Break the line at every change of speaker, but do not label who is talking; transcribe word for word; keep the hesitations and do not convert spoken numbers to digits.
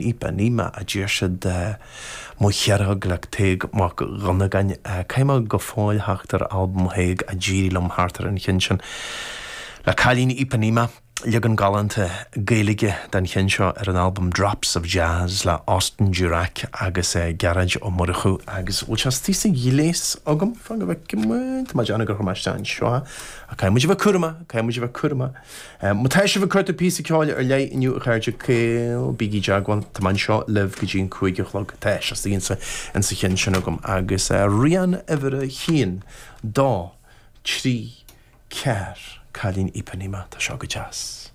Ipanema a deir siad Mo Chearnóg le Tadhg Mac Dhonnagáin Caithfidh mé go fóill theacht ar albam Thaidhg a d'éirigh liom thart ar an cheann sin le Cailín Ipanema leagan galánta Gaeilge den cheann seo ar an albam Drops of Jazz le Austin Durack agus Gearóid Ó Murchú agus bhfuil sé istigh sa ghléas agam fan go bhfeicfidh muid Tá mé ag déanamh gur chuir mé isteach anseo ach caithfidh muid a bheith cúramach caithfidh muid a bheith cúramach. Má tá sibh ag cuartú píosa ceoil ar leith inniu a chairde caol bígí i dteagmháil Tá mé anseo libh go dtí an cúig a chlog Tá sé istigh insa insa cheann sin agam agus rian uimhir a haon dó trí ceathair Cailín Ipanema Tá seo go deas.